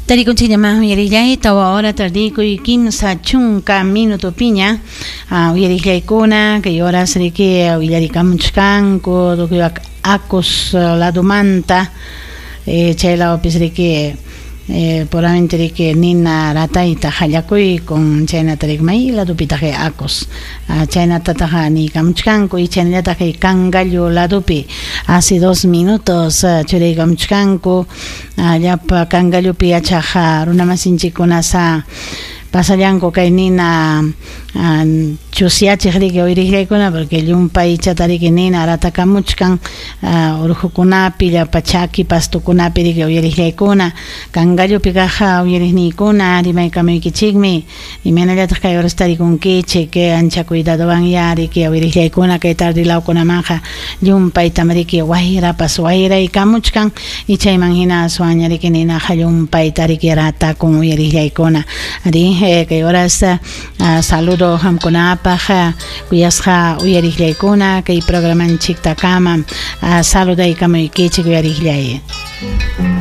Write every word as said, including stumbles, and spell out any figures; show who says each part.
Speaker 1: Tarikunchikñamá uyarillay tawa hora tardikuy kimsa chunka minutopiña uyarillaykuna kay horas riki willarikamuchkanku tukuy Acos ladumanta chay lawpis riki puramente riki nina ratayta qallakuykun chaynata riki may ladupitaq Acos chaynatataq niykamuchkanku y chaynallataq kay Cangallo ladupi hace dos minutos churaykamuchkanku llapa Cangallopi yachaq runamasinchikkuna sa pasallanku kay nina chusyachiq riki uyariqllaykuna porque llumpaychata riki nina ratakamuchkan urqukunapi llapa chaki pastukunapi riki uyariqllaykuna Cangallopi kaq uyariqniykuna rimaykamuykichikmi imaynallataq kay horas tarikunkichik ancha cuidadowan riki uyariqllaykuna kay tarde lawkunamanqa llumpaytam riki wayrapas wayraykamuchkan y chayman hina aswanña riki ninaqa llumpayta riki ratakun uyariqllaykuna ari kay horas saludo qamkunapaq kuyasqa uyariqllaykuna kay programanchiktakama saludaykamuykichik uyariqllay.